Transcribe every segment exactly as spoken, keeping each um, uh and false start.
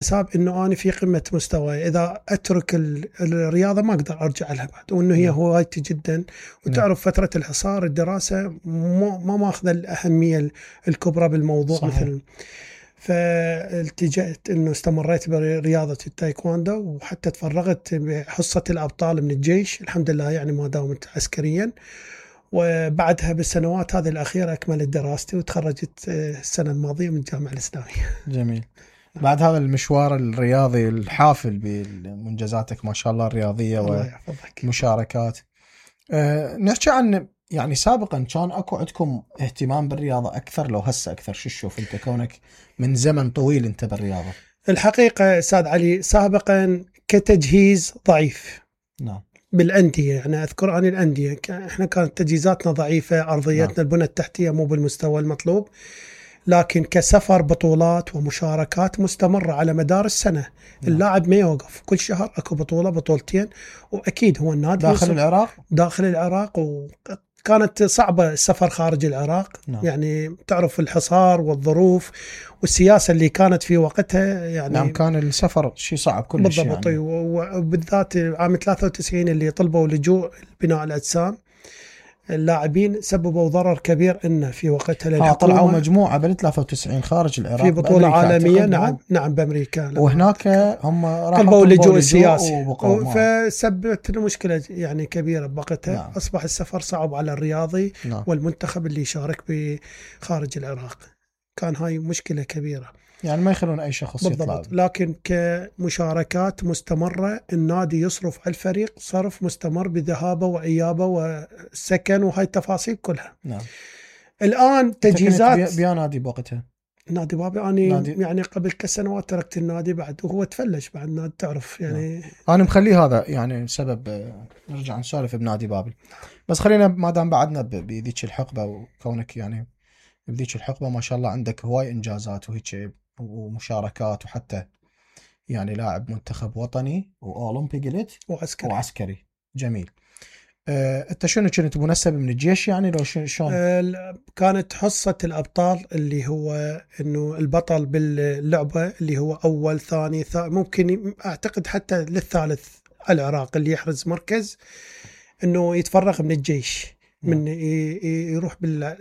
حساب انه انا في قمه مستواي، اذا اترك الرياضه ما اقدر ارجع لها بعد، وانه هي هوايتي جدا. وتعرف فتره الحصار الدراسه ما ماخذه الاهميه الكبرى بالموضوع. صحيح. مثل فالتجأت انه استمريت برياضه التايكواندو، وحتى تفرغت بحصه الابطال من الجيش الحمد لله، يعني ما داومت عسكريا. وبعدها بالسنوات هذه الاخيره اكملت دراستي وتخرجت السنه الماضيه من الجامعه الاسلاميه. جميل. بعد هذا المشوار الرياضي الحافل بمنجزاتك ما شاء الله الرياضية ومشاركات، أه نحكي عن يعني سابقا كان اكو عندكم اهتمام بالرياضة اكثر لو هسه اكثر؟ شو تشوف انت كونك من زمن طويل انت بالرياضة؟ الحقيقة استاذ علي سابقا كتجهيز ضعيف. نعم. بالأندية يعني أذكر أنا الأندية احنا كانت تجهيزاتنا ضعيفة، أرضيتنا نعم. البنى التحتية مو بالمستوى المطلوب، لكن كسفر بطولات ومشاركات مستمرة على مدار السنة. نعم. اللاعب ما يوقف، كل شهر أكو بطولة بطولتين، وأكيد هو النادي داخل العراق داخل العراق وكانت صعبة السفر خارج العراق. نعم. يعني تعرف الحصار والظروف والسياسة اللي كانت في وقتها، يعني نعم كان السفر شيء صعب كلش بالضبط. يعني. وبالذات عام ثلاثة وتسعين اللي طلبوا لجوء بناء الأجسام، اللاعبين سببوا ضرر كبير إنه في وقتها للحكومة. طلعوا مجموعة بال ثلاثة وتسعين خارج العراق في بطولة عالمية. نعم نعم بأمريكا. وهناك هم راحوا طلبوا لجوء السياسي، فسببت مشكلة يعني كبيرة بوقتها. نعم. أصبح السفر صعب على الرياضي. نعم. والمنتخب اللي يشارك بخارج العراق، كان هاي مشكلة كبيرة. يعني ما يخلون أي شخص بالضبط. يطلع. لكن كمشاركات مستمرة النادي يصرف على الفريق صرف مستمر بذهابه وإيابه وسكن وهاي التفاصيل كلها. نعم. الآن تجهيزات بيا نادي بوقتها نادي بابي. أنا نادي. يعني قبل كسنوات تركت النادي بعد، وهو تفلش بعد نادي تعرف يعني. نعم. أنا مخليه هذا يعني سبب نرجع نسولف بنادي بابل، بس خلينا ما دام بعدنا بذيك الحقبة، وكونك يعني بذيك الحقبة ما شاء الله عندك هواي إنجازات وهيك ومشاركات، وحتى يعني لاعب منتخب وطني وأولمبي قلت وعسكري. وعسكري. جميل. أه، انت شنو كنت منسب من الجيش يعني لو شلون؟ أه كانت حصة الأبطال اللي هو إنه البطل باللعبة اللي هو أول ثاني ث... ممكن أعتقد حتى للثالث العراق اللي يحرز مركز إنه يتفرغ من الجيش. من يروح بال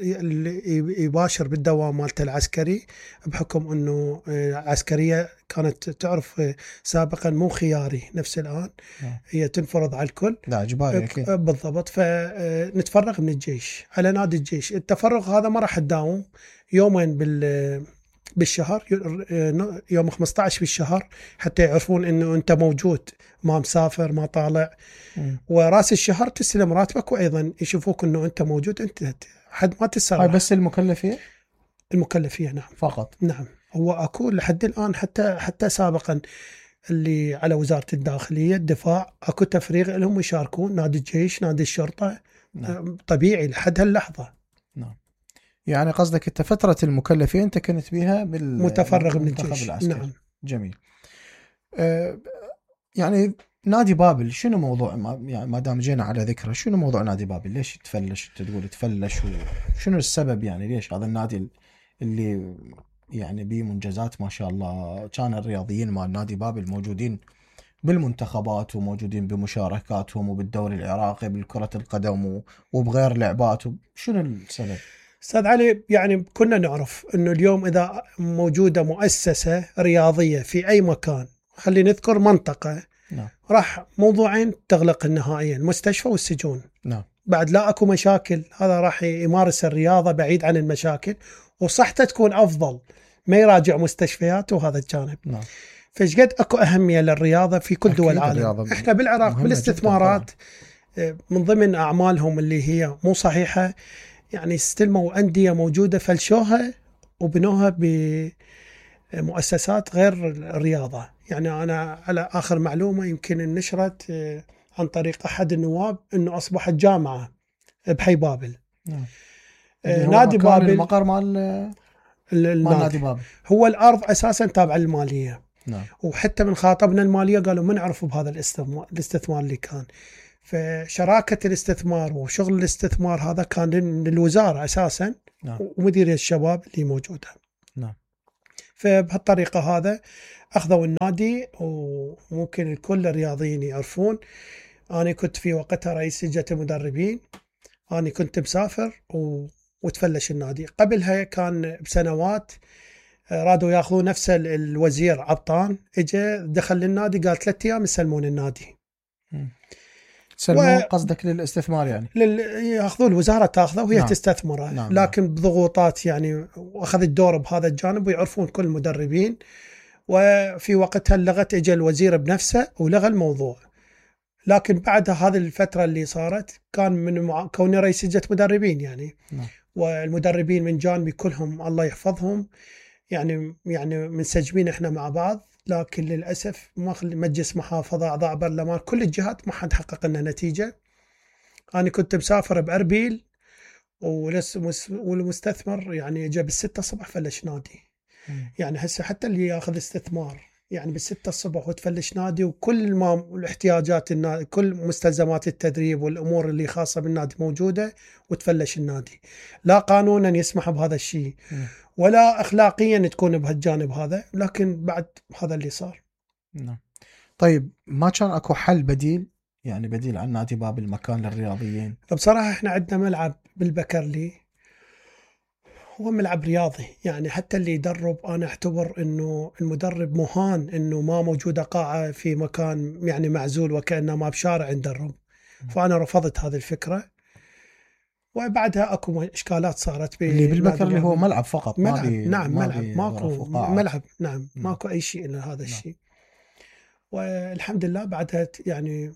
يباشر بالدوام مالته العسكري، بحكم انه عسكريه كانت تعرف سابقا مو خياري نفس الان. هي تنفرض على الكل. لا اجباري اكيد. بالضبط. فنتفرغ من الجيش على نادي الجيش. التفرغ هذا ما راح تداوم، يومين بال بالشهر، يوم خمسة عشر بالشهر، حتى يعرفون انه انت موجود، ما مسافر ما طالع. م. وراس الشهر تستلم راتبك، وايضا يشوفوك انه انت موجود، انت حد ما تسرح. هاي بس المكلفية؟ المكلفية نعم فقط. نعم. هو اكو لحد الان، حتى حتى سابقا اللي على وزارة الداخلية الدفاع اكو تفريغ لهم يشاركون، نادي الجيش نادي الشرطة. نعم. طبيعي لحد هاللحظة. نعم. يعني قصدك انت فترة المكلفين انت كنت بيها بالمتفرغ من الجيش العسكري. نعم. جميل. أه يعني نادي بابل شنو موضوع، ما يعني ما دام جينا على ذكره، شنو موضوع نادي بابل؟ ليش تفلش؟ انت تقول تفلش، وشنو السبب يعني ليش هذا النادي اللي يعني بيه منجزات ما شاء الله، كان الرياضيين مال نادي بابل موجودين بالمنتخبات وموجودين بمشاركاتهم وبالدوري العراقي بالكرة القدم وبغير لعبات، شنو السبب؟ أستاذ علي يعني كنا نعرف أنه اليوم إذا موجودة مؤسسة رياضية في أي مكان، خلي نذكر منطقة. نعم. راح موضوعين تغلق النهائيا، المستشفى والسجون. نعم. بعد لا أكو مشاكل، هذا راح يمارس الرياضة بعيد عن المشاكل، وصحته تكون أفضل، ما يراجع مستشفيات وهذا الجانب. نعم. فشقد أكو أهمية للرياضة في كل دول العالم. إحنا بالعراق بالاستثمارات من ضمن أعمالهم اللي هي مو صحيحة، يعني استلموا أندية موجودة فلشوها وبنوها بمؤسسات غير الرياضة. يعني أنا على آخر معلومة يمكن نشرت عن طريق أحد النواب أنه أصبحت جامعة بحي بابل. نعم. نادي بابل المقر مال نادي بابل، هو الأرض أساسا تابعة للمالية. نعم. وحتى من خاطبنا المالية قالوا ما نعرف بهذا الاستثمار الاستثمار اللي كان. فشراكة الاستثمار وشغل الاستثمار هذا كان للوزارة أساسا. نعم. ومديرية الشباب اللي موجودة. نعم. فبهالطريقة هذا أخذوا النادي، وممكن كل الرياضيين يعرفون. أنا كنت في وقتها رئيس لجنة المدربين، أنا كنت مسافر و... وتفلش النادي. قبلها كان بسنوات رادوا ياخذون نفس الوزير عبطان، اجى دخل للنادي قال ثلاثة ايام يسلمون النادي. سلمون و... قصدك للاستثمار يعني؟ لل... ياخذون الوزاره تاخذه وهي نعم. تستثمره. نعم. لكن بضغوطات يعني، واخذ الدور بهذا الجانب ويعرفون كل المدربين. وفي وقتها لغت اجى الوزير بنفسه ولغى الموضوع. لكن بعد هذه الفتره اللي صارت كان من مع... كوني رئيس لجنه مدربين يعني. نعم. والمدربين من جانبي كلهم الله يحفظهم يعني يعني منسجمين احنا مع بعض. لكن للاسف مجلس محافظه، اعضاء برلمان، كل الجهات ما حد حقق لنا نتيجه. انا كنت مسافر باربيل والمستثمر يعني جاء بالستة الصبح فلش نادي. م. يعني هسه حتى اللي ياخذ استثمار يعني بالستة الصبح وتفلش نادي، وكل ما الاحتياجات النادي، كل مستلزمات التدريب والامور اللي خاصه بالنادي موجوده، وتفلش النادي. لا قانونا يسمح بهذا الشيء ولا اخلاقيا تكون بهالجانب هذا، لكن بعد هذا اللي صار. نعم. طيب ما كان اكو حل بديل يعني بديل عن نادي بابل، مكان للرياضيين؟ بصراحه احنا عندنا ملعب بالبكرلي، هو ملعب رياضي يعني. حتى اللي يدرب انا اعتبر انه المدرب مهان انه ما موجوده قاعه في مكان يعني معزول وكانه ما بشارع ندرب. فانا رفضت هذه الفكره. وبعدها اكو اشكالات صارت اللي بالبكر اللي هو ملعب فقط، ملعب. ما بي نعم ما ملعب، بي ماكو ملعب. نعم م. ماكو اي شيء الا هذا نعم. الشيء. والحمد لله بعدها يعني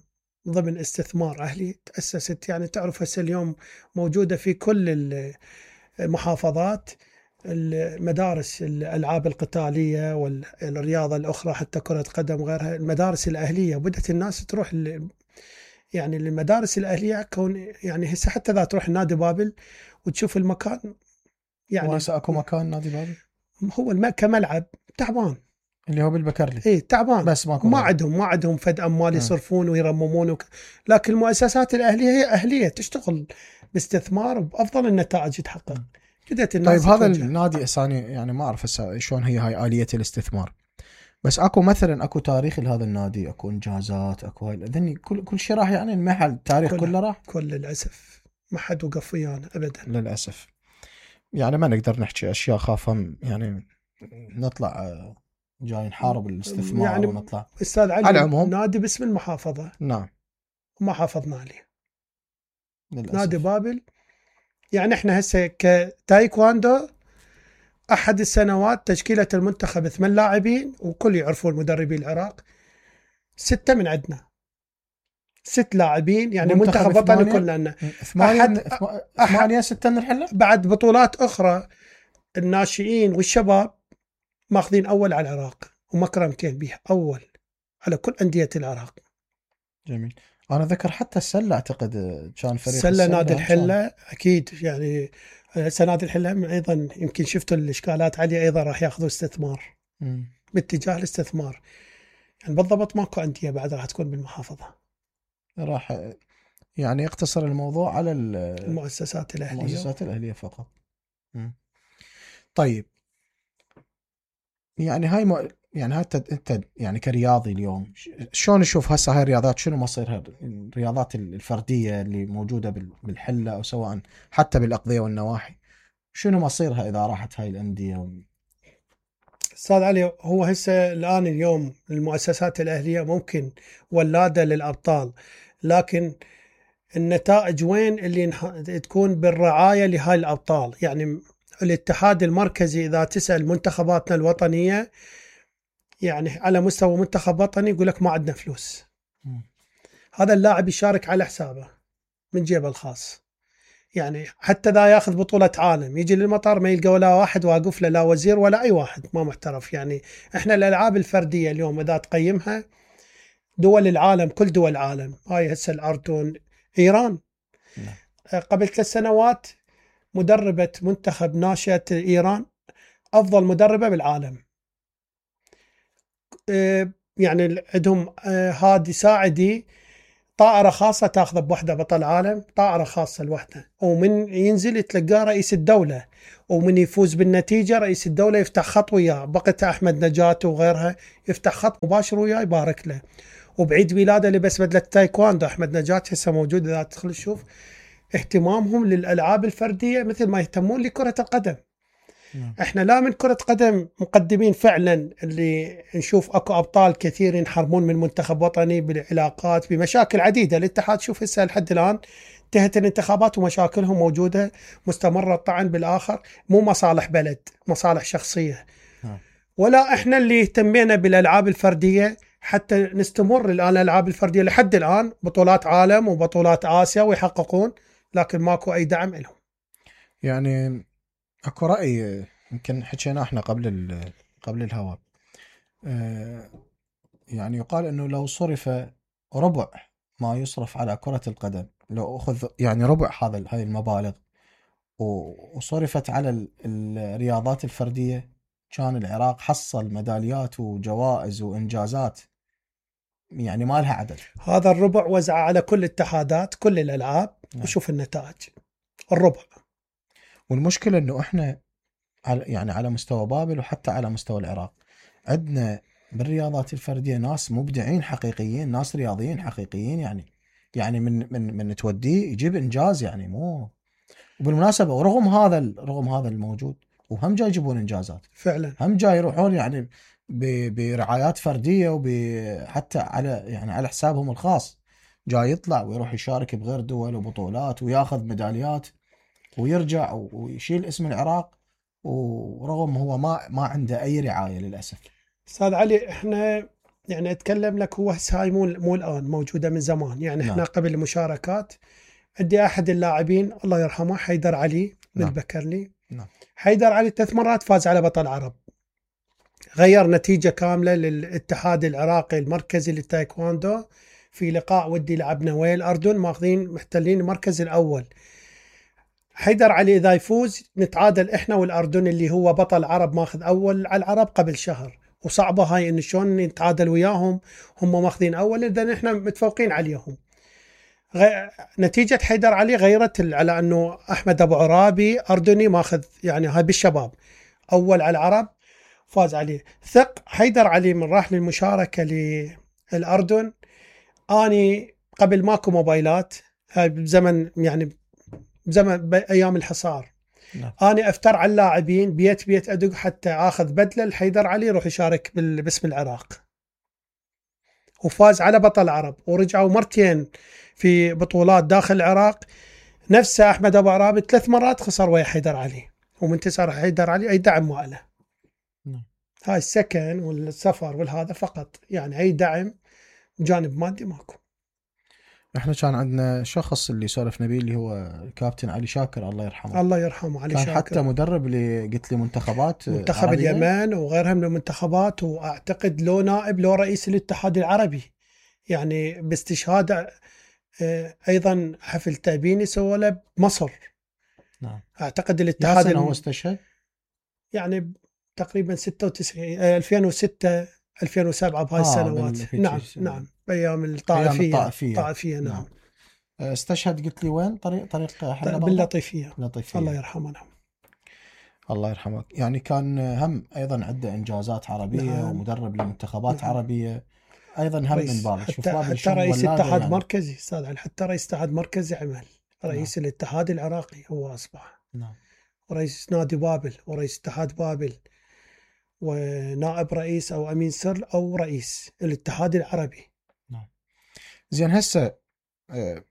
ضمن استثمار اهلي تاسست يعني. تعرف هسه اليوم موجوده في كل المحافظات المدارس الالعاب القتاليه والرياضه الاخرى، حتى كره قدم وغيرها. المدارس الاهليه بدات الناس تروح يعني للمدارس الاهليه، كون يعني هسه حتى اذا تروح نادي بابل وتشوف المكان يعني. وهسه اكو مكان نادي بابل هو الم... كملعب تعبان اللي هو بالبكرلي، اي تعبان، بس ماكو ما غير. عندهم ما عندهم فد اموال يصرفون ويرممون وك... لكن المؤسسات الاهليه هي اهليه تشتغل باستثمار وبافضل النتائج تحقق. بدات الناس طيب هذا تتوجه. النادي اساني يعني ما اعرف هسه شلون هي هاي اليه الاستثمار، بس اكو مثلا اكو تاريخ لهذا النادي، اكو انجازات، اكو هاي ذني كل كل شيء راح يعني المحل التاريخ كله راح. كل للاسف ما حد وقف ويانا ابدا للاسف. يعني ما نقدر نحكي اشياء خافه يعني نطلع جاي نحارب الاستثمار يعني ونطلع. استاذ علي على العموم نادي باسم المحافظه، نعم، وما حافظنا عليه. للأسف. نادي بابل يعني احنا هسه كتايكواندو احد السنوات تشكيله المنتخب ثمان لاعبين، وكل يعرفون مدربي العراق، سته من عندنا، ست لاعبين يعني منتخب وطني كلنا. ثمانية ثمانية ستة نحله بعد بطولات اخرى الناشئين والشباب ماخذين اول على العراق ومكرمتين بها اول على كل انديه العراق. جميل. انا ذكر حتى السله اعتقد كان فريق السله نادي الحله اكيد يعني. هسه نادي الحله ايضا يمكن شفتوا الاشكالات عليه، ايضا راح ياخذوا استثمار م. باتجاه الاستثمار يعني. بالضبط ماكو انديه بعد راح تكون بالمحافظه، راح يعني يقتصر الموضوع على المؤسسات الاهليه المؤسسات الاهليه فقط. م. طيب يعني هاي م... يعني حتى انت يعني كرياضي اليوم شلون نشوف هسه هاي الرياضات، شنو مصيرها الرياضات الفرديه اللي موجوده بالحله او سواء حتى بالاقضيه والنواحي، شنو مصيرها اذا راحت هاي الانديه؟ استاذ علي هو هسه الان اليوم المؤسسات الاهليه ممكن ولاده للابطال، لكن النتائج وين اللي تكون بالرعايه لهاي الابطال يعني. الاتحاد المركزي اذا تسال منتخباتنا الوطنيه يعني على مستوى منتخب وطني يقول لك ما عندنا فلوس. م. هذا اللاعب يشارك على حسابه من جيبه الخاص يعني. حتى ذا ياخذ بطولة عالم يجي للمطار ما يلقى ولا واحد واقف له، لا وزير ولا أي واحد ما محترف يعني. إحنا الألعاب الفردية اليوم إذا تقيمها دول العالم، كل دول العالم، هاي هسه الأردن، إيران. م. قبل ثلاث سنوات مدربة منتخب ناشئة إيران أفضل مدربة بالعالم يعني. عندهم هادي ساعدي طائرة خاصة تاخذه بوحدة بطل عالم، طائرة خاصة لوحده، ومن ينزل يتلقاه رئيس الدولة، ومن يفوز بالنتيجة رئيس الدولة يفتح خط وياه، بقت أحمد نجاة وغيرها يفتح خط مباشر وياه يبارك له. وبعيد ميلاده لبس بدلة تايكواندو أحمد نجاة هسه موجود، إذا تدخل تشوف اهتمامهم للألعاب الفردية مثل ما يهتمون لكرة القدم. نعم. احنا لا من كرة قدم مقدمين فعلا، اللي نشوف اكو ابطال كثير ينحرمون من منتخب وطني بالعلاقات بمشاكل عديدة. الاتحاد شوف هسه لحد الان انتهت الانتخابات ومشاكلهم موجودة مستمرة، الطعن بالاخر، مو مصالح بلد، مصالح شخصية. نعم. ولا احنا اللي اهتمينا بالالعاب الفردية حتى نستمر الان الالعاب الفردية لحد الان بطولات عالم وبطولات اسيا ويحققون، لكن ماكو اي دعم لهم. يعني اكو رأي يمكن حكينا احنا قبل ال- قبل الهواء، آه، يعني يقال انه لو صرف ربع ما يصرف على كرة القدم، لو اخذ يعني ربع هذا هاي المبالغ و- وصرفت على ال- الرياضات الفردية، كان العراق حصل ميداليات وجوائز وانجازات يعني ما لها عدد. هذا الربع وزعه على كل اتحادات كل الالعاب. نعم. وشوف النتائج الربع. والمشكلة انه احنا على يعني على مستوى بابل وحتى على مستوى العراق عندنا بالرياضات الفردية ناس مبدعين حقيقيين، ناس رياضيين حقيقيين، يعني يعني من من من توديه يجيب انجاز يعني مو. وبالمناسبة ورغم هذا ال- رغم هذا الموجود وهم جاي يجيبون انجازات، فعلا هم جاي يروحون يعني ب- برعايات فردية وحتى على يعني على حسابهم الخاص، جاي يطلع ويروح يشارك بغير دول وبطولات وياخذ ميداليات ويرجع ويشيل اسم العراق، ورغم هو ما ما عنده اي رعايه للاسف. استاذ علي، احنا يعني اتكلم لك، هو هسه هاي مو مو الان، موجوده من زمان. يعني احنا نعم. قبل المشاركات عندي احد اللاعبين الله يرحمه حيدر علي من نعم. البكرلي. نعم. حيدر علي ثلاث مرات فاز على بطل عرب، غير نتيجه كامله للاتحاد العراقي المركزي للتايكواندو في لقاء ودي لعبنا ويا الاردن، ماخذين محتلين المركز الاول. حيدر علي اذا يفوز نتعادل احنا والاردن اللي هو بطل عرب ماخذ اول على العرب قبل شهر، وصعبه هاي ان شلون نتعادل وياهم، هم ماخذين اول اذا احنا متفوقين عليهم. غ... نتيجه حيدر علي غيرت ال- على انه احمد ابو عرابي اردني ماخذ يعني هاي بالشباب اول على العرب فاز عليه. ثق حيدر علي من راح للمشاركه للاردن، اني قبل ماكو موبايلات، هاي بزمن يعني بزمن ايام الحصار، نعم. أنا أفتر على اللاعبين بيت بيت أدق حتى آخذ بدلة الحيدر علي يروح يشارك بال- باسم العراق، وفاز على بطل العرب. ورجعوا مرتين في بطولات داخل العراق، نفسه أحمد أبو عرابي ثلاث مرات خسر ويا حيدر علي، ومنتصر حيدر علي أي دعم ماله. نعم. هاي السكن والسفر والهذا فقط، يعني أي دعم جانب مادي ماكو. احنا كان عندنا شخص اللي سولفنا به اللي هو الكابتن علي شاكر الله يرحمه، الله يرحمه علي كان شاكر، حتى مدرب اللي قلت لي منتخبات منتخب عربية. اليمن وغيرها من المنتخبات، واعتقد لو نائب لو رئيس الاتحاد العربي، يعني باستشهاد آه، ايضا حفل تأبيني سوى له بمصر. نعم. اعتقد يا الاتحاد سنة الم... هو استشهد؟ يعني تقريبا ستة وتسعين آه، ألفين وستة ألفين وسبعة بهاي آه السنوات. بالهيك نعم ش- نعم بايام ايام الطائفيه. الطائفية. الطائفيه نعم, نعم. استشهد قلت لي وين؟ طريق طريق حلب برضه؟ باللطيفيه. لطيفية. الله يرحمه. نعم. الله يرحمه. يعني كان هم ايضا عنده انجازات عربيه نعم. ومدرب لمنتخبات نعم. عربيه ايضا هم من رئيس بابل. شوف حتى بابل حتى شلون رئيس ولاده اتحاد يعني. مركزي استاذ علي، حتى رئيس اتحاد مركزي عمل رئيس نعم. الاتحاد العراقي هو اصبح، نعم. ورئيس نادي بابل ورئيس اتحاد بابل ونائب رئيس او امين سر او رئيس الاتحاد العربي. نعم. زين هسه آه،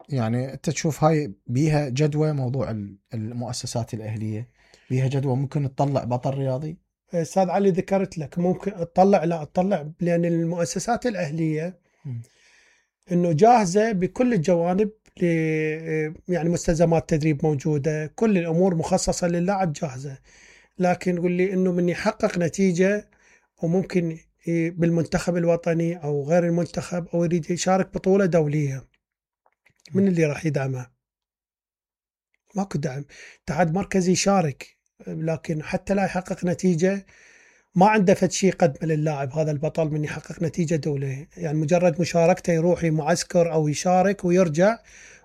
يعني انت تشوف هاي بيها جدوى موضوع ال- المؤسسات الاهليه، بيها جدوى ممكن تطلع بطل رياضي؟ استاذ علي ذكرت لك ممكن تطلع، لا تطلع، لان المؤسسات الاهليه م. انه جاهزه بكل الجوانب، ل يعني مستلزمات تدريب موجوده، كل الامور مخصصه للاعب جاهزه. لكن قل لي انه من يحقق نتيجه وممكن بالمنتخب الوطني او غير المنتخب او يريد يشارك بطوله دوليه، من اللي راح يدعمه؟ ماكو دعم. اتحاد مركزي يشارك، لكن حتى لا يحقق نتيجه ما عنده فد شيء قدمه للاعب هذا البطل من يحقق نتيجة دولية، يعني مجرد مشاركته يروح معسكر أو يشارك ويرجع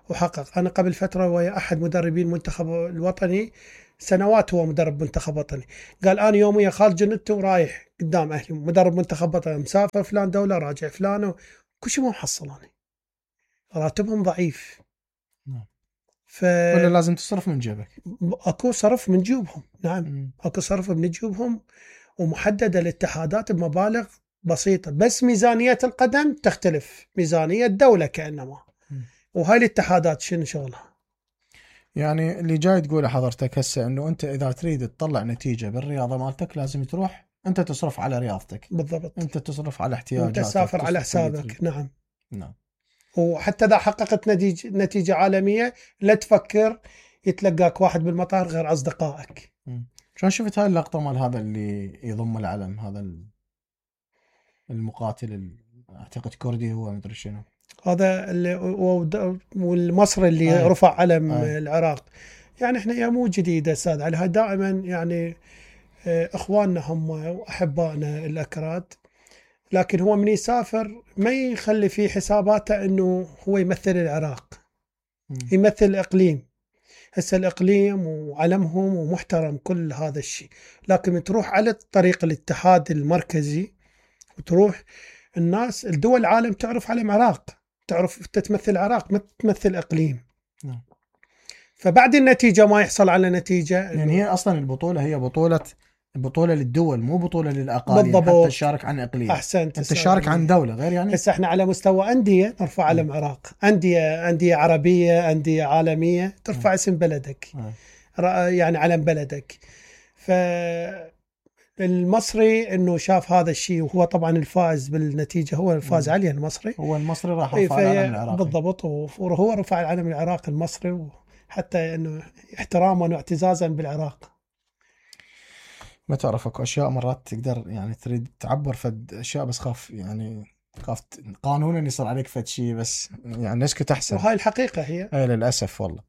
وحقق. أنا قبل فترة ويا أحد مدربين المنتخب الوطني، سنوات هو مدرب منتخب وطني، قال أنا يوميا خالد جندته ورايح قدام أهلي مدرب منتخب وطني، مسافر فلان دولة راجع فلان، كل شيء ما محصل أنا، راتبهم ضعيف. ف... ولا لازم تصرف من جيبك؟ أكو صرف من جيوبهم، نعم م. أكو صرف من جيوبهم، ومحددة الاتحادات بمبالغ بسيطة، بس ميزانية القدم تختلف ميزانية الدولة كأنما. م. وهاي الاتحادات شنو شغلها؟ يعني اللي جاي تقوله حضرتك هسه انه انت اذا تريد تطلع نتيجة بالرياضة مالتك لازم تروح انت تصرف على رياضتك. بالضبط. انت تصرف على احتياجاتك، انت تسافر على حسابك. نعم. نعم. وحتى اذا حققت نتيجة, نتيجة عالمية لا تفكر يتلقاك واحد بالمطار غير اصدقائك. شلون شفت هاي اللقطة مال هذا اللي يضم العلم، هذا المقاتل اعتقد كردي هو مدري شنو، هذا اللي والمصري اللي آه. رفع علم آه. العراق. يعني احنا يا مو جديدة استاذ علي، دائما يعني اخواننا هم واحبائنا الاكراد، لكن هو من يسافر ما يخلي في حساباته انه هو يمثل العراق، م. يمثل الاقليم. هسه الاقليم وعلمهم ومحترم كل هذا الشيء، لكن تروح على طريق الاتحاد المركزي وتروح الناس الدول العالم تعرف علم العراق، تعرف تتمثل العراق ما تمثل اقليم. م. فبعد النتيجة ما يحصل على نتيجة، يعني هي اصلا البطولة هي بطولة بطولة للدول مو بطولة للأقاليم. بالضبط. حتى تشارك عن إقليم. أحسنت. أنت تشارك عن دولة غير يعني. هسه إحنا على مستوى أندية نرفع علم العراق، أندية أندية عربية أندية عالمية ترفع م. اسم بلدك م. يعني علم بلدك. فالمصري إنه شاف هذا الشيء، وهو طبعا الفائز بالنتيجة هو الفائز عليه المصري. هو المصري راح رفع العلم العراقي. بالضبط. وهو رفع العلم العراقي المصري، حتى إنه احتراما واعتزازا بالعراق. ما تعرف اكو اشياء مرات تقدر يعني تريد تعبر فد اشياء بس خاف يعني خاف قانونا يصير عليك فد شيء، بس يعني نسكت احسن. وهاي الحقيقه هي. اي للاسف والله.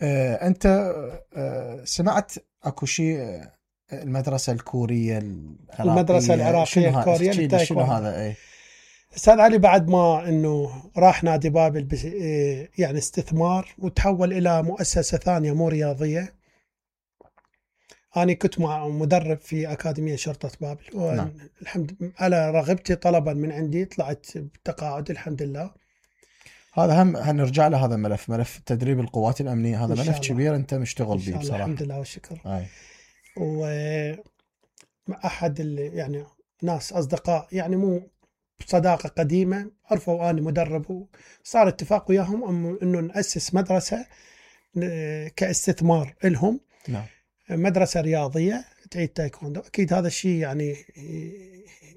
آه انت آه سمعت اكو شيء المدرسه الكوريه العراقيه، المدرسه العراقيه الكوريه شنو هذا؟ اي استاذ علي، بعد ما انه راح نادي بابل يعني استثمار وتحول الى مؤسسه ثانيه مو رياضيه. أنا كنت مع مدرب في أكاديمية شرطة بابل، والحمد نعم. على رغبتي طلبا من عندي طلعت بتقاعد الحمد لله. هذا هم هنرجع له، هذا ملف ملف تدريب القوات الأمنية، هذا ملف كبير أنت مشتغل به بصراحة. الحمد لله والشكر. أي. وأحد يعني ناس أصدقاء يعني مو صداقة قديمة عرفوا أنا مدرب، وصار اتفاق وياهم إنه نأسس مدرسة كاستثمار لهم. نعم. مدرسة رياضية تعيد تايكوندو. أكيد هذا الشيء يعني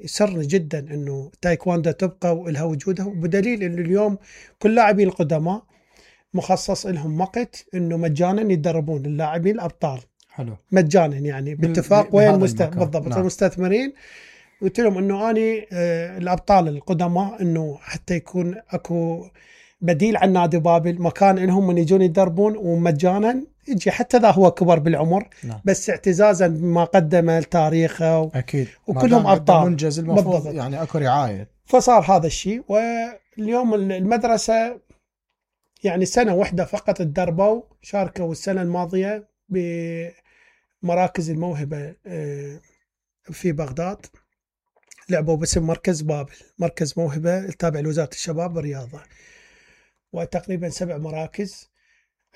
يسرني جدا إنه تايكوندو تبقى ولها وجودها، بدليل إنه اليوم كل لاعبين القدماء مخصص لهم وقت إنه مجانا يتدربون اللاعبين الأبطال. حلو. مجانا يعني باتفاق وين المست... بالضبط. نعم. المستثمرين قلت لهم إنه أني آه الأبطال القدماء إنه حتى يكون أكو بديل عن نادي بابل، مكان إنهم من يجون يتدربون ومجانا يجي حتى ذا هو كبر بالعمر. نعم. بس اعتزازا بما قدمه لتاريخه و... أكيد. وكلهم أبطال منجز المفروض يعني أكو رعاية. فصار هذا الشيء. واليوم المدرسة يعني سنة واحدة فقط تدربوا، شاركوا السنة الماضية بمراكز الموهبة في بغداد، لعبوا باسم مركز بابل، مركز موهبة التابع لوزارة الشباب والرياضة، وتقريبا سبع مراكز.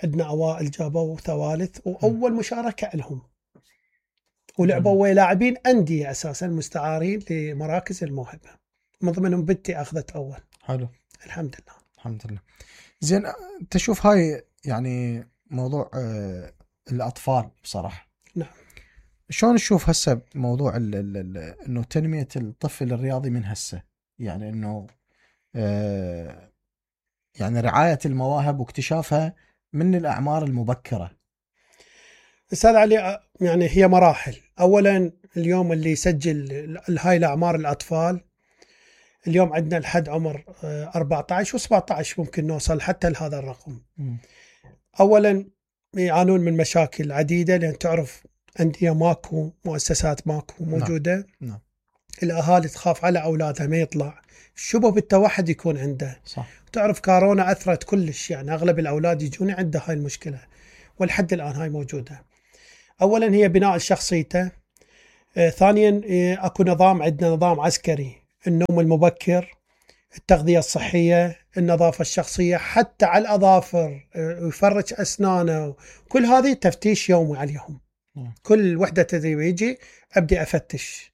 عندنا أوائل جابوا ثوالث، وأول مشاركة لهم، ولعبوا ويا لاعبين أندية أساسا مستعارين لمراكز الموهبة، من ضمنهم بنتي أخذت أول. حلو. الحمد لله. الحمد لله. زين تشوف هاي يعني موضوع آه الأطفال بصراحة. نعم. شلون تشوف هسه موضوع ال ال ال إنه تنمية الطفل الرياضي من هسه، يعني إنه آه يعني رعاية المواهب واكتشافها من الأعمار المبكرة؟ أستاذ علي يعني هي مراحل. أولا اليوم اللي يسجل هاي الأعمار الأطفال، اليوم عندنا لحد عمر أربعة عشر وسبعة عشر ممكن نوصل حتى لهذا الرقم. م. أولا يعانون من مشاكل عديدة، لأن تعرف أندية ماكو، مؤسسات ماكو موجودة. نعم. الأهالي تخاف على أولادها ما يطلع، شبه بالتوحد يكون عنده. صح. تعرف كورونا أثرت كلش، يعني أغلب الأولاد يجون عنده هاي المشكلة، والحد الآن هاي موجودة. أولا هي بناء شخصيته. آه ثانيا آه أكو نظام، عندنا نظام عسكري، النوم المبكر، التغذية الصحية، النظافة الشخصية، حتى على الأظافر، آه يفرج أسنانه، كل هذه تفتيش يومي عليهم. م. كل وحدة تدريب يجي أبدي أفتش.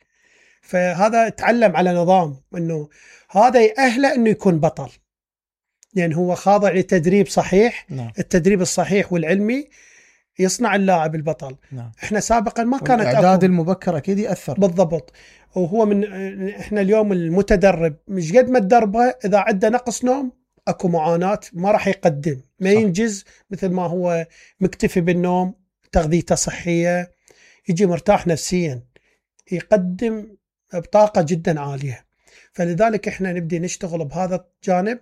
فهذا تعلم على نظام انه هذا يأهله انه يكون بطل، لان يعني هو خاضع لتدريب صحيح. نعم. التدريب الصحيح والعلمي يصنع اللاعب البطل. نعم. احنا سابقا ما كانت الاعداد المبكر اكيد ياثر بالضبط. وهو من احنا اليوم المتدرب مش قد ما تدربه، اذا عنده نقص نوم اكو معاناة، ما راح يقدم، ما صح. ينجز مثل ما هو مكتفي بالنوم، تغذيته صحية، يجي مرتاح نفسيا، يقدم بطاقة جدا عالية. فلذلك احنا نبدي نشتغل بهذا الجانب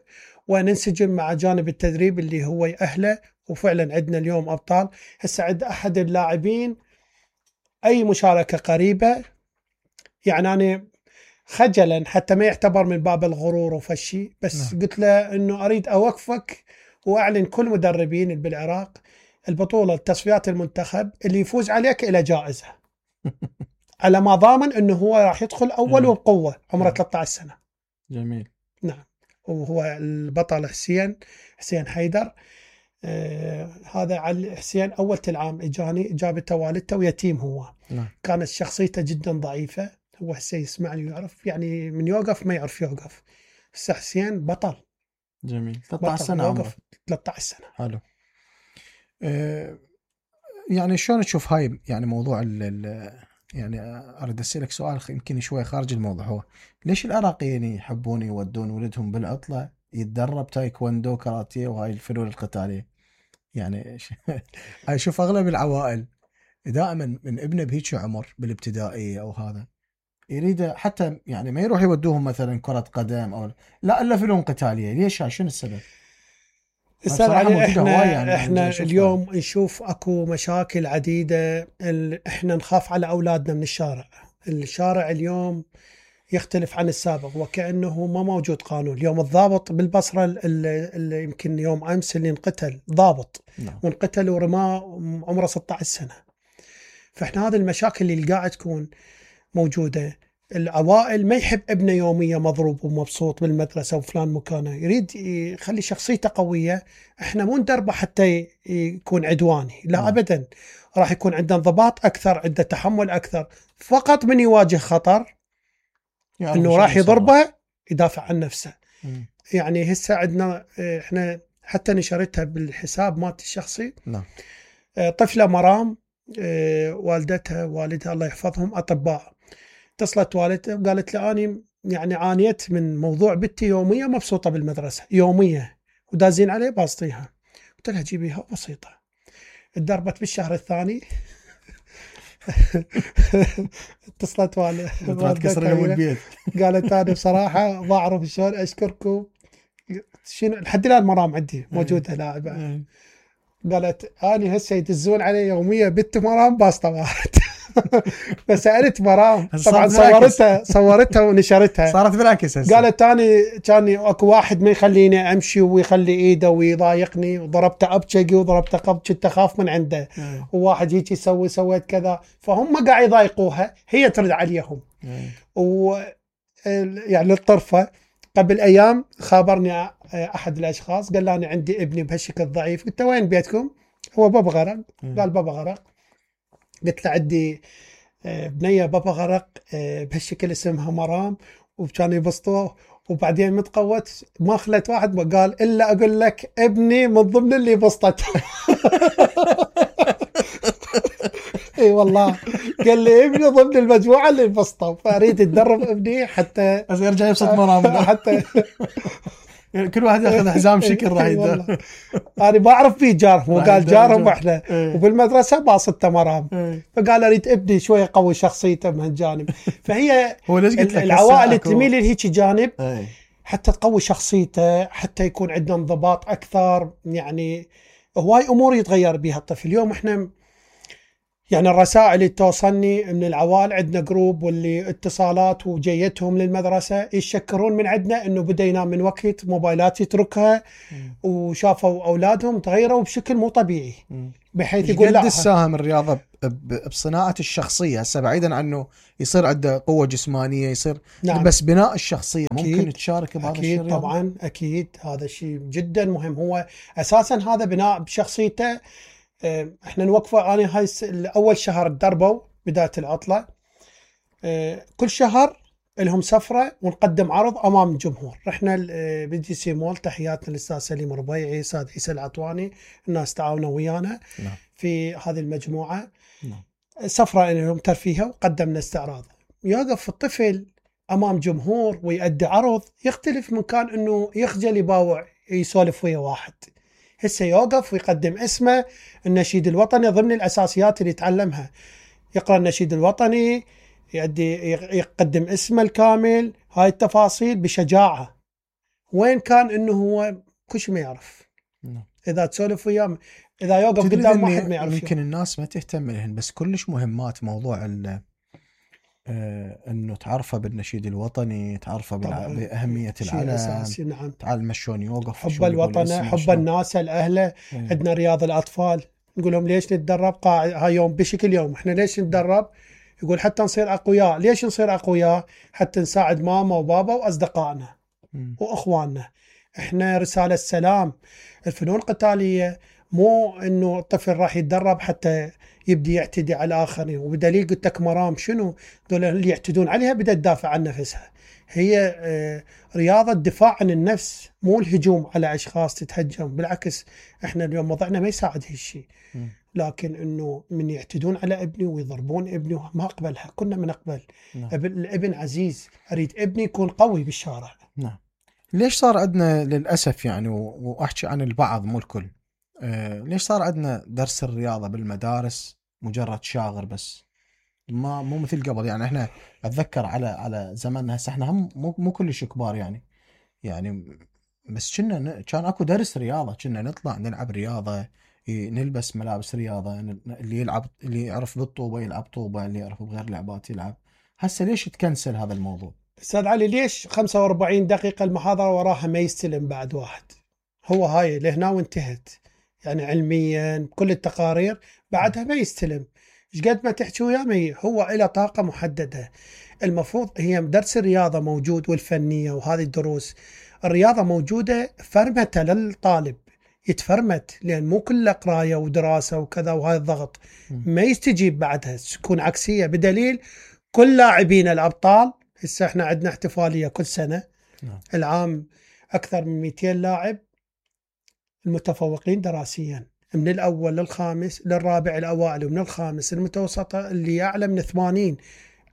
وننسجم مع جانب التدريب اللي هو يأهله. وفعلا عندنا اليوم أبطال. هسه عند أحد اللاعبين أي مشاركة قريبة، يعني أنا خجلا حتى ما يعتبر من باب الغرور وفشي، بس نعم. قلت له أنه أريد أوقفك وأعلن كل مدربين بالعراق البطولة تصفيات المنتخب اللي يفوز عليك إلى جائزة على ما ضامن انه هو راح يدخل اول وبقوه، عمره ثلاثة عشر سنة. جميل. نعم. وهو البطل حسين حسين حيدر. آه هذا علي حسين اول العام اجاني، جابته والدته ويتيم هو. نعم. كانت شخصيته جدا ضعيفه، هو هسه يسمعني ويعرف، يعني من يوقف ما يعرف يوقف. هسه حسين بطل. جميل. ثلاثة عشر سنة عمره. ثلاثة عشر سنة. حلو. أه يعني شلون تشوف هاي يعني موضوع ال يعني أريد أسألك سؤال يمكن شوي خارج الموضوع، هو ليش العراقيين يحبون يودون ولدهم بالعطلة يتدرب تايكوندو كاراتيه وهاي الفنون القتالية؟ يعني هاي شوف أغلب العوائل دائما من ابنه بهيك عمر بالابتدائية أو هذا يريد حتى يعني ما يروح يودوهم مثلا كرة قدم أو لا إلا فنون قتالية. ليش؟ شنو السبب؟ استاذ علي، احنا يعني احنا اليوم نشوف اكو مشاكل عديده. احنا نخاف على اولادنا من الشارع. الشارع اليوم يختلف عن السابق، وكانه ما موجود قانون. اليوم الضابط بالبصره اللي يمكن يوم امس اللي انقتل ضابط نعم. وانقتل ورماه عمره ستة عشر سنة. فاحنا هذه المشاكل اللي قاعد تكون موجوده. العوائل ما يحب ابنه يوميا مضروب ومبسوط بالمدرسة وفلان مكانه، يريد يخلي شخصيته قوية. احنا مو ندربه حتى يكون عدواني، لا م. أبدا. راح يكون عنده انضباط أكثر، عنده تحمل أكثر. فقط من يواجه خطر يعني انه راح يضربه يدافع عن نفسه. م. يعني هسه عندنا احنا حتى نشرتها بالحساب مالتي الشخصي. نعم. طفلة مرام، والدتها والدها الله يحفظهم أطباء، اتصلت والدتها وقالت لي أنا يعني عانيت من موضوع بنتي يومية مبسوطة بالمدرسة يومية ودازين عليه باسطيها. قلت لها جيبيها بسيطة. اتدربت بالشهر الثاني اتصلت والدتها قالت أنا بصراحة ما أعرف شلون أشكركم. شنو لحد الآن مرام عندي موجودة لاعبة. قالت أنا هسه يدزون علي يومية بنت مرام باسطة واحد. فسألت مرام، طبعا صورتها صورتها ونشرتها، صارت بالعكس. قالت أنا كان اكو واحد ما يخليني امشي ويخلي ايده ويضايقني، وضربته ابشقي وضربته قبض، كنت اخاف من عنده. وواحد هيك يسوي سويت كذا، فهم قاعد يضايقوها، هي ترد عليهم. و يعني للطرفه قبل ايام خابرني احد الاشخاص قال لي انا عندي ابني بهالشكل ضعيف. قلت وين بيتكم؟ هو بابا غرق. قال بابا غرق. قلت له عندي بنية بابا غرق بهالشكل اسمها مرام، وكانوا يبسطوه. وبعدين متقوت ما خلت واحد ما قال إلا أقول لك ابني من ضمن اللي بسطته. اي والله قال لي ابني ضمن المجموعة اللي بسطوا، فأريد أتدرب ابني حتى بس يرجع يبسط مرام. حتى يعني كل واحد ياخذ حزام شكل راح يدرب. انا ما اعرف فيه جارهم، وقال جارهم احنا وبالمدرسه باسطته مرام. فقال اريد ابني شويه يقوي شخصيته من هالجانب. فهي العوائل تميل لهيك جانب حتى تقوي شخصيته، حتى يكون عندنا انضباط اكثر. يعني هواي امور يتغير بها الطفل. اليوم احنا يعني الرسائل اللي توصلني من العوال، عندنا جروب واللي اتصالات وجيتهم للمدرسة يشكرون من عندنا انه بدا ينام من وقت، موبايلات يتركها، وشافوا اولادهم تغيروا بشكل مو طبيعي، بحيث يقول قد لا تساهم الرياضة ب- بصناعة الشخصية هسه، بعيدا عنه يصير عنده قوة جسمانية، يصير نعم. بس بناء الشخصية ممكن أكيد. تشارك بهذا أكيد الشيء الرياضة؟ طبعا أكيد، هذا الشيء جدا مهم. هو أساسا هذا بناء بشخصيته. اه، احنا نوقفه. أنا هاي الس- أول شهر تدربوا بداية العطلة، اه، كل شهر لهم سفرة ونقدم عرض أمام الجمهور. رحنا بالدي سي مول، تحياتنا للأستاذ سليم ربيعي، أستاذ عيسى العطواني، الناس تعاونوا ويانا نعم. في هذه المجموعة. نعم. سفرة لهم ترفيهها، وقدمنا استعراض. يوقف الطفل امام جمهور ويؤدي عرض يختلف من كان انه يخجل يباوع يسولف ويا واحد. هسه يوقف ويقدم اسمه، النشيد الوطني ضمن الاساسيات اللي يتعلمها، يقرا النشيد الوطني، يؤدي يقدم اسمه الكامل، هاي التفاصيل بشجاعه. وين كان انه هو كل شيء ما يعرف. نعم. اذا تسولف وياه، اذا يوقف تدري قدام إني واحد ما يعرف يمكن يوم. الناس ما تهتم لهن، بس كلش مهمات موضوع ال آه، انه تعرفه بالنشيد الوطني، تعرفه بالع... طبعاً. باهميه شيء العلم، اساسي. نعم. تعلم شلون يوقف، حب شلون يقول الوطن، اسمه، حب شلون. الناس، الاهله. إيه. عندنا رياض الاطفال، نقول لهم ليش نتدرب قاعد هاي يوم بشكل يوم، احنا ليش نتدرب؟ يقول حتى نصير اقوياء. ليش نصير اقوياء؟ حتى نساعد ماما وبابا واصدقائنا مم. واخواننا. احنا رساله سلام. الفنون القتاليه مو انه الطفل راح يتدرب حتى يبدي يعتدي على الاخرين. وبدليل قلت لك مرام شنو؟ دول اللي يعتدون عليها بدها تدافع عن نفسها. هي آه، رياضة دفاع عن النفس، مو الهجوم على أشخاص تتهجم. بالعكس، احنا اليوم وضعنا ما يساعد هالشيء. مم. لكن انه من يعتدون على ابني ويضربون ابني ما اقبلها. كنا من اقبل. نعم. ابن- الابن عزيز، اريد ابني يكون قوي بالشارع. نعم. ليش صار عندنا للاسف يعني، و- واحكي عن البعض مو الكل، آه ليش صار عندنا درس الرياضه بالمدارس مجرد شاغر بس، ما مو مثل قبل؟ يعني احنا اتذكر على على زماننا هسه، احنا هم مو مو كلش كبار يعني، يعني بس كنا ن- كان اكو درس رياضه، كنا نطلع نلعب رياضه، ي- نلبس ملابس رياضه، ن- اللي يلعب، اللي يعرف بالطوبه يلعب طوبه، اللي يعرف بغير لعبات يلعب. هسه ليش تكنسل هذا الموضوع؟ استاذ علي، ليش خمسة وأربعين دقيقة المحاضرة وراها ما يستلم بعد واحد؟ هو هاي لهنا وانتهت. يعني علميا بكل التقارير بعدها ما يستلم. ايش قد ما تحكي وياه ما ي- هو له طاقة محددة. المفروض هي درس الرياضة موجود، والفنية وهذه الدروس. الرياضة موجودة فرمتة للطالب، يتفرمت، لأن مو كله قراية ودراسة وكذا وهاي الضغط ما يستجيب بعدها، تكون عكسية. بدليل كل لاعبين الأبطال، هسه احنا عندنا احتفالية كل سنة. نعم. العام أكثر من مئتين لاعب المتفوقين دراسيا، من الأول للخامس للرابع الأوائل، ومن الخامس المتوسطة اللي أعلى من ثمانين.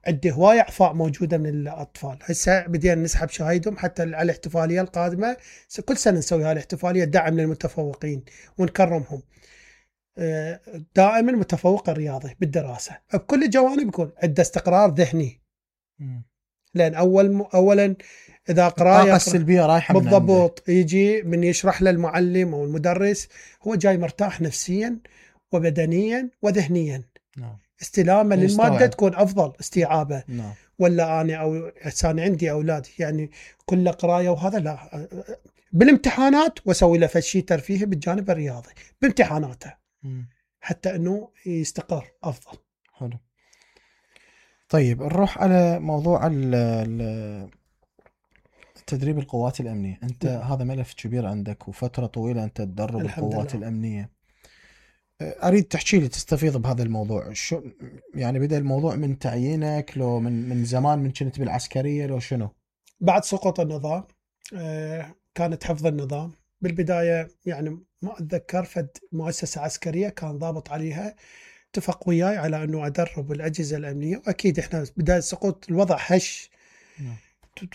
عنده هواية أعفاء موجودة من الأطفال. هسه بدينا نسحب شهايدهم حتى على الاحتفالية القادمة. كل سنة نسوي هاي الاحتفالية دعم للمتفوقين ونكرمهم. آه، دائما متفوق الرياضي بالدراسة بكل الجوانب يكون عنده استقرار ذهني. مم. لأن أول أولا إذا قراءة الطاقه السلبيه رايحه من عنده. بالضبط، يجي من يشرح للمعلم أو المدرس هو جاي مرتاح نفسيا وبدنيا وذهنيا. نعم. استلامه يستوعب. للمادة تكون أفضل استيعابه. نعم. ولا أنا أو أنا عندي أولاد يعني كل قراية وهذا لا، بالامتحانات وأسوي له فشي ترفيهي بالجانب الرياضي بامتحاناته مم. حتى أنه يستقر أفضل. حلو. طيب نروح على موضوع ال- ال- تدريب القوات الأمنية. أنت نعم. هذا ملف كبير عندك وفترة طويلة أنت تدرب الحمد القوات لله. الأمنية. أريد تحكي لي، تستفيض بهذا الموضوع. شو يعني بدأ الموضوع من تعيينك، لو من من زمان من كنت بالعسكرية، لو شنو؟ بعد سقوط النظام آه، كانت حفظ النظام بالبداية. يعني ما أتذكر فد مؤسسة عسكرية كان ضابط عليها اتفق وياي على أنه أدرب الأجهزة الأمنية. وأكيد إحنا بداية سقوط الوضع هش، نعم.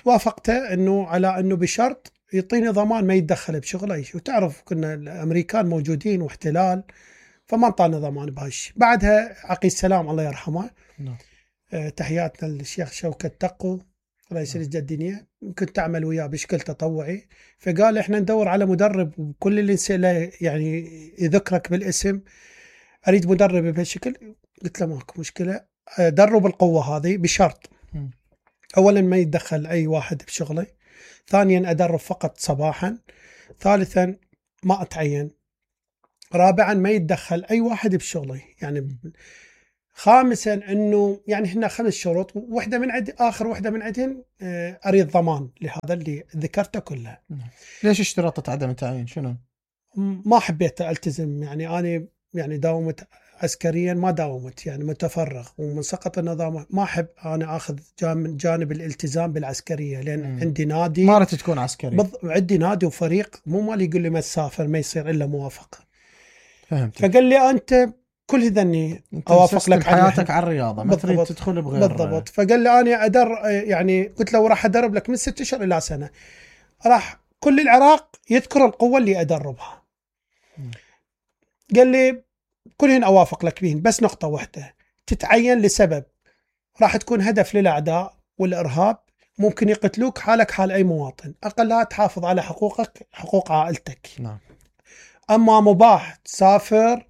توافقته أنه على أنه بشرط يعطيني ضمان ما يتدخل بشغله. وتعرف كنا الأمريكان موجودين واحتلال، فما انطانا ضمان بهالشيء. بعدها عقيد السلام الله يرحمه، نعم. آه، تحياتنا للشيخ شوكت تقو رئيس اللجنة الدينية، كنت أعمل وياه بشكل تطوعي. فقال إحنا ندور على مدرب، وكل اللي نسأله يعني يذكرك بالاسم، أريد مدرب بهالشكل. قلت له ماكو مشكلة، درب القوة هذه بشرط م. أولا ما يتدخل أي واحد بشغله، ثانيا أدرب فقط صباحا، ثالثا ما أتعين، رابعا ما يتدخل أي واحد بشغله يعني، خامسا أنه يعني هنا خمس شروط، واحدة من عد آخر واحدة من عندهن أريد ضمان لهذا اللي ذكرته كله. ليش اشترطت عدم التعيين؟ شنو؟ ما حبيت ألتزم، يعني أنا يعني داومت عسكريا ما داومت يعني متفرغ، ومن سقط النظام ما أحب أنا أخذ جانب, جانب الالتزام بالعسكرية، لأن مم. عندي نادي ما رأيت تكون عسكري. بض... عندي نادي وفريق، مو مالي يقول لي ما تسافر ما يصير إلا موافقة. فهمت. فقال لي أنت كل هذني أوافق لك حياتك على الرياضة، ما تريد تدخل بغير. بالضبط. فقال لي أنا أدر يعني قلت له راح أدرب لك من ست أشهر إلى سنة، راح كل العراق يذكر القوة اللي أدربها. مم. قال لي كلهن أوافق لك بهن، بس نقطة واحدة تتعين لسبب راح تكون هدف للأعداء والإرهاب، ممكن يقتلوك حالك حال أي مواطن، أقلها تحافظ على حقوقك حقوق عائلتك. نعم. أما مباح تسافر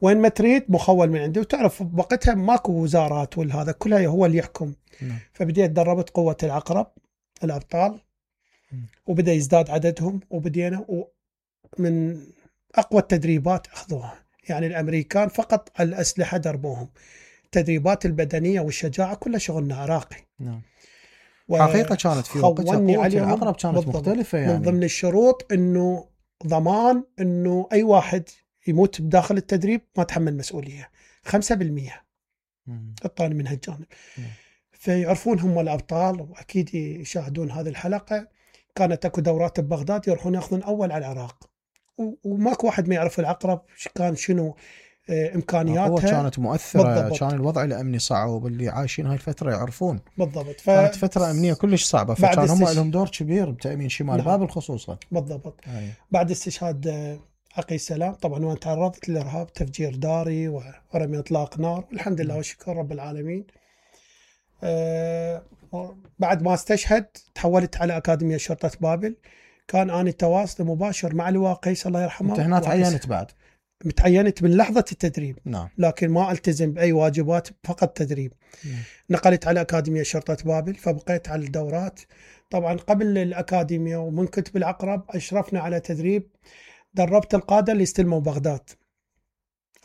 وين ما تريد، مخول من عندي، وتعرف بوقتها ماكو وزارات والهذا كلها هو اللي يحكم. نعم. فبديت دربت قوة العقرب الأبطال، وبدأ يزداد عددهم، وبدينا من أقوى التدريبات أخذوها، يعني الأمريكان فقط الأسلحة دربوهم، التدريبات البدنية والشجاعة كلها شغلنا عراقي. نعم. حقيقة كانت في وقتها قوة العقرب كانت بالضبط. مختلفة يعني. من ضمن الشروط أنه ضمان أنه أي واحد يموت بداخل التدريب ما تحمل مسؤولية، خمسة بالمية الطاني من هالجانب. فيعرفون هم الأبطال، وأكيد يشاهدون هذه الحلقة. كانت أكو دورات ببغداد يروحون يأخذون أول على العراق، وماكو واحد ما يعرف العقرب كان شنو إمكانياتها. كانت مؤثرة بالضبط. كان الوضع الأمني صعب، واللي عايشين هاي الفترة يعرفون بالضبط. ف... كانت فترة أمنية كلش صعبة، فكان هم استش... لهم دور كبير بتأمين شمال نعم. بابل خصوصا. بالضبط. أي. بعد استشهاد عقي السلام طبعا وأنا تعرضت للإرهاب، تفجير داري ورمي إطلاق نار، والحمد لله والشكر رب العالمين. أه... بعد ما استشهد تحولت على أكاديمية شرطة بابل، كان أنا تواصل مباشر مع لواء قيس الله يرحمه. أنت هنا تعينت بعد؟ متعينت من لحظة التدريب. نعم. لكن ما التزم بأي واجبات، فقط تدريب. نعم. نقلت على أكاديمية شرطة بابل، فبقيت على الدورات. طبعا قبل الأكاديمية ومن كنت بالعقرب أشرفنا على تدريب، دربت القادة اللي استلموا بغداد،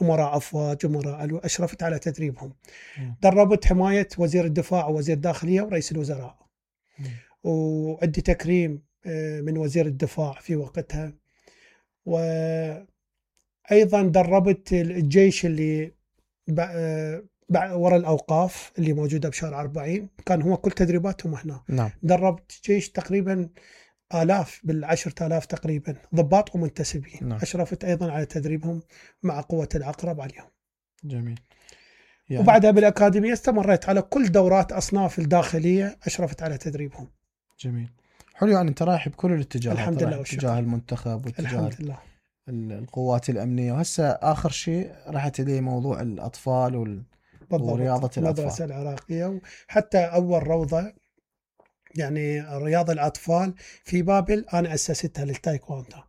أمراء أفواج أمراء ألو، أشرفت على تدريبهم. نعم. دربت حماية وزير الدفاع ووزير الداخلية ورئيس الوزراء. نعم. وعندي تكريم من وزير الدفاع في وقتها. و أيضا دربت الجيش اللي وراء الأوقاف اللي موجودة بشارع أربعين، كان هو كل تدريباتهم هنا. نعم. دربت جيش تقريبا آلاف بالعشرة آلاف تقريبا ضباط ومنتسبين. نعم. أشرفت أيضا على تدريبهم مع قوة العقرب عليهم. جميل. يعني وبعدها بالأكاديمية استمريت على كل دورات أصناف الداخلية، أشرفت على تدريبهم. جميل. حلو، يعني أنت رايح بكل الاتجاهات. الحمد لله. اتجاه المنتخب واتجاه الحمد لله القوات الأمنية، وهسه آخر شيء رحت إليه موضوع الأطفال وال... ورياضة الأطفال، المدرسة العراقية. وحتى أول روضة يعني رياضة الأطفال في بابل أنا أسستها للتايكواندا،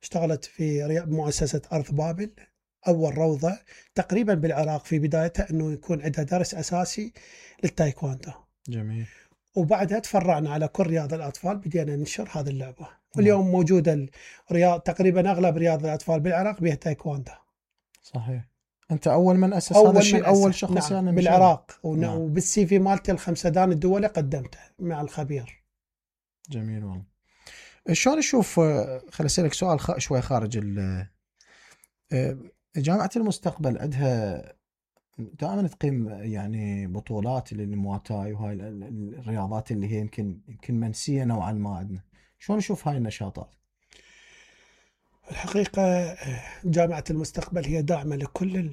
اشتغلت في مؤسسة أرض بابل، أول روضة تقريبا بالعراق في بدايتها أنه يكون عندها درس أساسي للتايكواندا. جميل. وبعدها تفرعنا على كل رياضة الأطفال، بدينا ننشر هذه اللعبة. واليوم موجودة الرياض تقريبا أغلب رياضة الأطفال بالعراق بها تايكواندا. صحيح. أنت أول من أسس هذا الشيء، أول شخص. نعم. يعني بالعراق. نعم. وبالسي في مالتي الخمسة دان الدولة قدمته مع الخبير. جميل والله. شلون نشوف، خليني أسألك سؤال خ... شوي خارج ال جامعة المستقبل عندها دائما تقيم يعني بطولات للمواي وهاي الرياضات اللي هي يمكن يمكن منسية نوعا ما عندنا، شلون نشوف هاي النشاطات؟ الحقيقة جامعة المستقبل هي داعمة لكل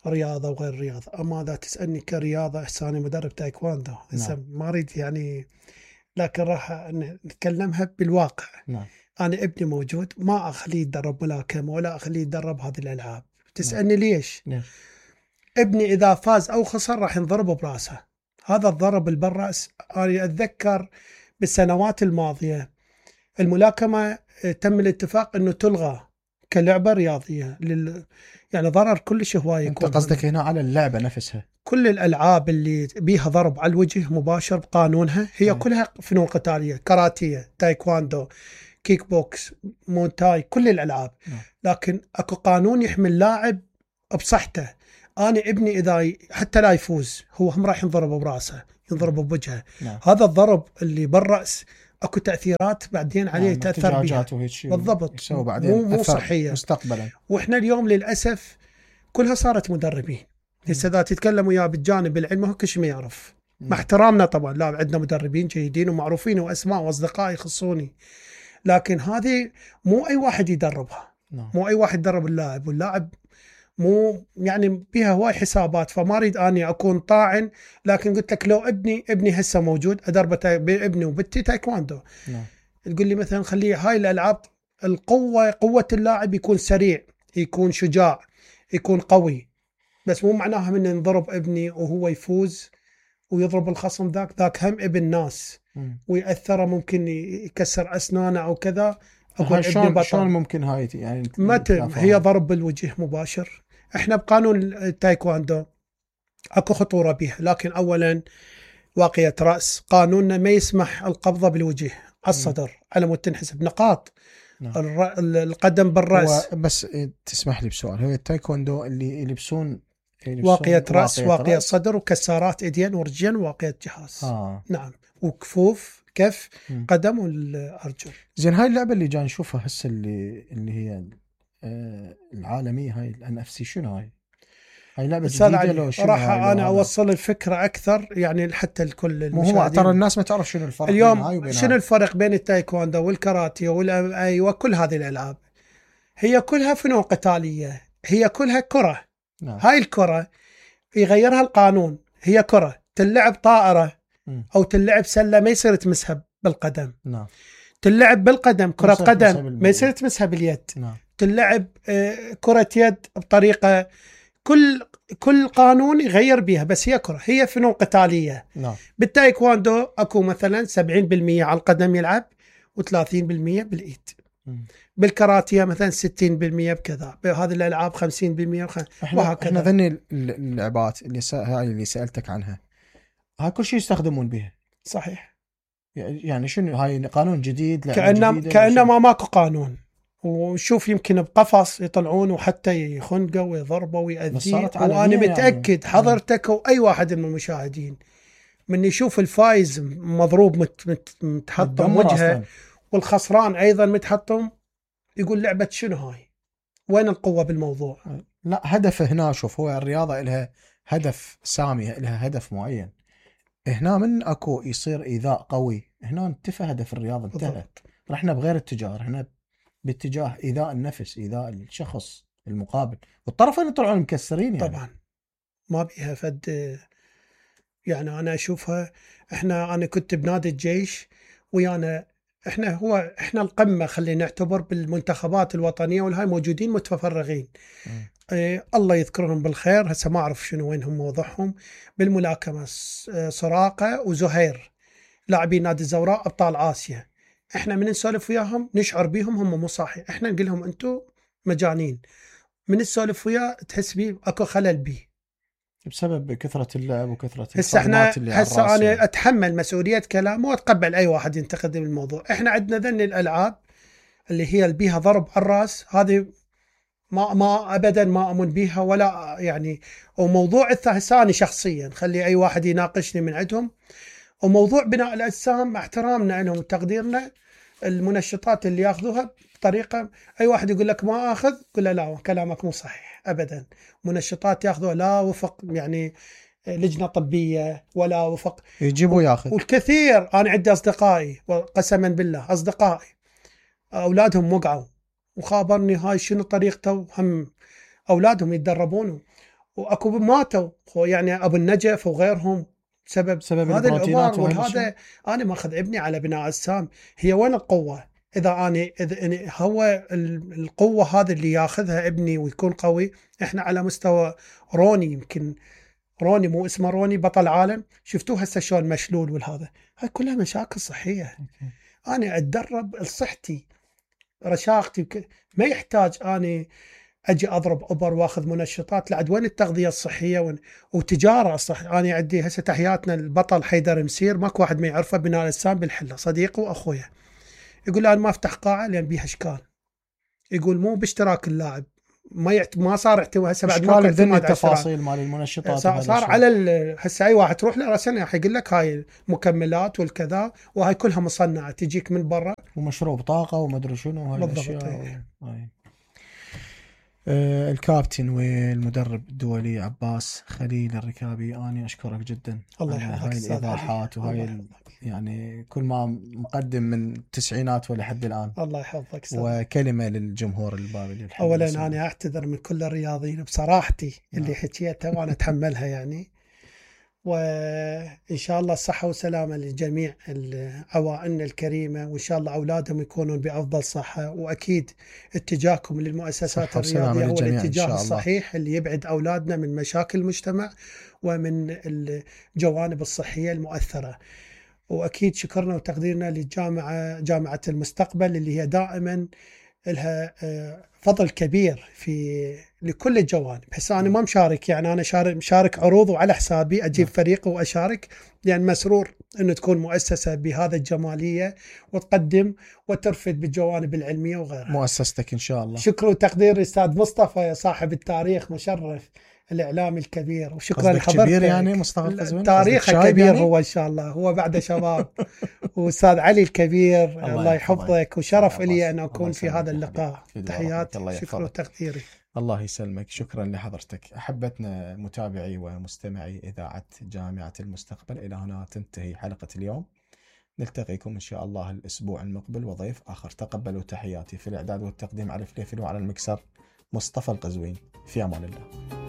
الرياضة وغير الرياضة. أما إذا تسألني كرياضة، إحساني مدرب تايكواندو. نعم. ما أريد يعني، لكن راح نتكلمها بالواقع. نعم. أنا ابني موجود، ما أخليه يدرب ملاكمة ولا أخليه يدرب هذه الألعاب. تسألني نعم. ليش؟ نعم. ابني إذا فاز أو خسر راح ينضرب برأسه. هذا الضرب بالرأس أنا أتذكر بالسنوات الماضية الملاكمة تم الاتفاق أنه تلغى كلعبه رياضيه لل... يعني ضرر كلش هواي انت يكون. قصدك هنا على اللعبه نفسها؟ كل الالعاب اللي بيها ضرب على الوجه مباشر بقانونها هي أي. كلها فنون قتاليه، كاراتيه، تايكواندو، كيك بوكس، مونتاي، كل الالعاب. نعم. لكن اكو قانون يحمي اللاعب بصحته. انا ابني اذا ي... حتى لا يفوز هو هم راح ينضرب براسه، ينضرب بوجهه. نعم. هذا الضرب اللي بالراس اكو تاثيرات بعدين عليه نعم. تاثر بها احتجاجات وهيك شيء بالضبط، يسوي بعدين مو مو أثر صحيه. مستقبلا. واحنا اليوم للاسف كلها صارت مدربين. هسه اذا تتكلم وياه بالجانب العلمي هو كل شيء ما يعرف. مع احترامنا طبعا، لا عندنا مدربين جيدين ومعروفين واسماء واصدقاء يخصوني، لكن هذه مو اي واحد يدربها. نعم. مو اي واحد يدرب اللاعب، واللاعب مو يعني بيها هواي حسابات. فما اريد اني اكون طاعن، لكن قلت لك لو ابني ابني هسه موجود ادربه ابني وبنتي تايكواندو، نعم. تقول لي مثلا خليه هاي الالعاب القوه قوه اللاعب يكون سريع، يكون شجاع، يكون قوي، بس مو معناها من ينضرب ابني وهو يفوز ويضرب الخصم ذاك ذاك هم ابن ناس ويأثره، ممكن يكسر اسنانه او كذا. هاي شلون شلون ممكن هاي يعني متى هي ضرب بالوجه مباشر. احنا بقانون التايكواندو اكو خطوره بها، لكن اولا واقية راس، قانوننا ما يسمح القبضه بالوجه على الصدر على مود تنحسب نقاط. نعم. القدم بالراس. بس تسمح لي بسؤال، هو التايكوندو اللي يلبسون واقية راس، واقية صدر، وكسارات ايدين ورجلين، وواقية جهاز. آه. نعم، وكفوف كف م. قدم والارجل. زين هاي اللعبه اللي جاي نشوفها هسه اللي اللي هي آه العالميه، هاي الان اف سي، شنو هاي؟ هاي لعبه جديده لو شنو؟ راح انا اوصل الفكره اكثر يعني حتى الكل المشاهدين. مو ترى الناس ما تعرف شنو الفرق اليوم، شنو الفرق بين التايكوندو والكاراتيه والام اي وكل هذه الالعاب. هي كلها فنون قتاليه، هي كلها كره. نعم. هاي الكره يغيرها القانون، هي كره تلعب طائره م. او تلعب سله ما يصير تمسها بالقدم. نعم. تلعب بالقدم كره قدم ما يصير تمسها باليد. نعم. تلعب كره يد بطريقه، كل كل قانون يغير بيها، بس هي كره، هي فنون قتاليه. نعم. بالتايكواندو اكو مثلا سبعين بالمئة على القدم يلعب وثلاثين بالمئة بالايد. م. بالكاراتيه مثلا ستين بالمئة بكذا، بهذه الالعاب خمسين بالمئة وخ... احنا احنا ذني اللعبات اللي س... هاي اللي سالتك عنها، هاي كل شيء يستخدمون بها. صحيح. يعني شنو هاي قانون جديد؟ كأنه كأنه ما ماكو قانون. وشوف يمكن بقفص يطلعون وحتى يخنقوا ويضربوا ويأذيه، وانا متاكد يعني. حضرتك واي واحد من المشاهدين من يشوف الفايز مضروب مت مت متحطم وجهه والخسران ايضا متحطم، يقول لعبه شنو هاي؟ وين القوه بالموضوع؟ لا، هدفه هنا شوف، هو الرياضه لها هدف سامي، لها هدف معين. هنا من اكو يصير ايذاء قوي، هنا انتفى هدف الرياضه، انتهى. رحنا بغير اتجاه، هنا باتجاه ايذاء النفس، ايذاء الشخص المقابل، والطرفين يطلعون مكسرين يعني. طبعا ما بيها فد. يعني انا اشوفها، احنا انا كنت بنادي الجيش ويانا، احنا هو احنا القمه، خلينا نعتبر بالمنتخبات الوطنيه والهاي موجودين متفرغين. إيه الله يذكرهم بالخير، هسه ما اعرف شنو وينهم موضعهم. بالملاكمه سراقه وزهير لاعبين نادي الزوراء ابطال اسيا، احنا من نسولف وياهم نشعر بيهم هم مو صاحي، احنا نقول لهم انتم مجانين. من نسولف وياه تحس بيه اكو خلل بيه بسبب كثره اللعب وكثره هسه احنا هسه انا اتحمل مسؤوليه كلامه واتقبل اي واحد ينتقد الموضوع. احنا عندنا ذن الالعاب اللي هي اللي بيها ضرب على الراس، هذه ما ما ابدا ما امن بيها ولا يعني. وموضوع الثاني شخصيا خلي اي واحد يناقشني من عندهم، وموضوع بناء الاجسام مع احترامنا لهم وتقديرنا، المنشطات اللي ياخذوها بطريقه، اي واحد يقول لك ما اخذ، قل له لا كلامك مو صحيح ابدا. منشطات ياخذوها لا وفق يعني لجنه طبيه ولا وفق، يجيبوا ياخذ. والكثير انا عندي اصدقائي وقسما بالله اصدقائي اولادهم وقعوا وخابرني هاي شنو طريقته، هم اولادهم يتدربون واكو ماتوا يعني ابو النجف وغيرهم بسبب سبب هذا الامر. وهذا انا ماخذ ابني على بناء اجسام. هي وين القوه؟ اذا انا اذا هو القوه هذه اللي ياخذها ابني ويكون قوي، احنا على مستوى روني، يمكن روني مو اسمه روني بطل عالم، شفتوه هسه شلون مشلول والهذا، هاي كلها مشاكل صحيه. انا اتدرب لصحتي رشاقتي وك... ما يحتاج اني اجي اضرب ابر واخذ منشطات. لعد وين التغذيه الصحيه وين... وتجاره صح. انا عندي هسه تحياتنا البطل حيدر مسير، ماكو واحد ما يعرفه، بناء الاجسام بالحله، صديقي واخويا. يقول انا ما افتح قاعه لان بيها اشكال. يقول مو باشتراك اللاعب، ما يعت... ما صار اعتماد هسه بعد ما اشكال ذني التفاصيل مال المنشطات صار, صار على ال... هسه اي واحد تروح له راسا يقول لك هاي المكملات والكذا، وهاي كلها مصنعه تجيك من برا ومشروب طاقه وما ادري شنو هاي بالضبط. الاشياء. هاي آه الكابتن والمدرب الدولي عباس خليل الركابي، اني اشكرك جدا الله على يحفظك هاي أستاذ الايضاحات علي. وهاي الله ال... يعني كل ما مقدم من التسعينات ولحد الان. الله يحفظك أستاذ. وكلمه للجمهور البابلي. اولا انا اعتذر من كل الرياضيين بصراحتي اللي نعم. حكيتها وانا اتحملها يعني، وإن شاء الله الصحة والسلامة لجميع عوائلنا الكريمة، وإن شاء الله أولادهم يكونون بأفضل صحة. وأكيد اتجاهكم للمؤسسات الرياضية هو الاتجاه الصحيح اللي يبعد أولادنا من مشاكل المجتمع ومن الجوانب الصحية المؤثرة. وأكيد شكرنا وتقديرنا للجامعة جامعة المستقبل اللي هي دائما لها فضل كبير في لكل الجوانب. هسه انا ما مشارك، يعني انا شارك مشارك عروض وعلى حسابي اجيب فريق واشارك، لان يعني مسرور انه تكون مؤسسه بهذا الجماليه وتقدم وترفد بالجوانب العلميه وغيرها. مؤسستك ان شاء الله. شكر وتقدير الاستاذ مصطفى صاحب التاريخ مشرف الاعلامي الكبير، وشكرا لحضرتك. كبير يعني مصطفى القزويني تاريخه كبير يعني؟ هو ان شاء الله هو بعد شباب. واستاذ علي الكبير الله, الله يحفظك، وشرف لي ان اكون في هذا اللقاء. تحياتي شكرا وتقديري. الله يسلمك. شكرا لحضرتك. احبتنا متابعي ومستمعي اذاعه جامعه المستقبل، الى هنا تنتهي حلقه اليوم. نلتقيكم ان شاء الله الاسبوع المقبل وضيف اخر. تقبلوا تحياتي. في الاعداد والتقديم علي فليفل، وعلى المكسر مصطفى القزويني. في امان الله.